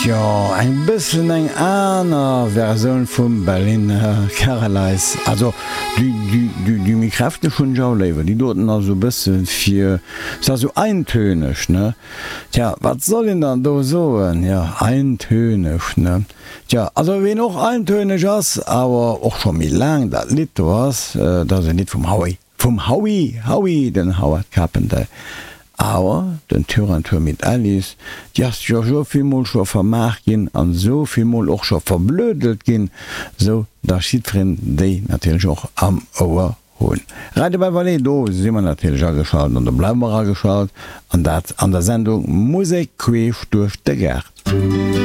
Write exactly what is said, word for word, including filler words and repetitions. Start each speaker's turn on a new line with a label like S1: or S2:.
S1: Tjo, eng bëssen eng aner Versioun vum Berliner Carolyse. Also déi, déi, déi, déi méi kräfteg hunn ech och léiwer. Déi doten ass esou bësse fir, se ass esou eintönig, ne? Tja, wat soll een dann do soen? Jo, eintönig, ne? Tja, also ween och eintönig ass, awer och scho méi laang dat Lidd do ass, dat ass e Lidd vum Howie, vum Howie, Howie, den Howard Carpendale. Awer den Tour an Tour mit Alice, déi ass jo sou vill mol scho vermaart ginn an sou vill mol och scho verblödelt ginn, sou dass jiddwereen déi natierlech och am Ouer hunn. Radio Beverley, do si mer natierlech ageschalt an do bleiwe mer ageschalt, an dat an der Sendung Musek queesch duerch de Gaart.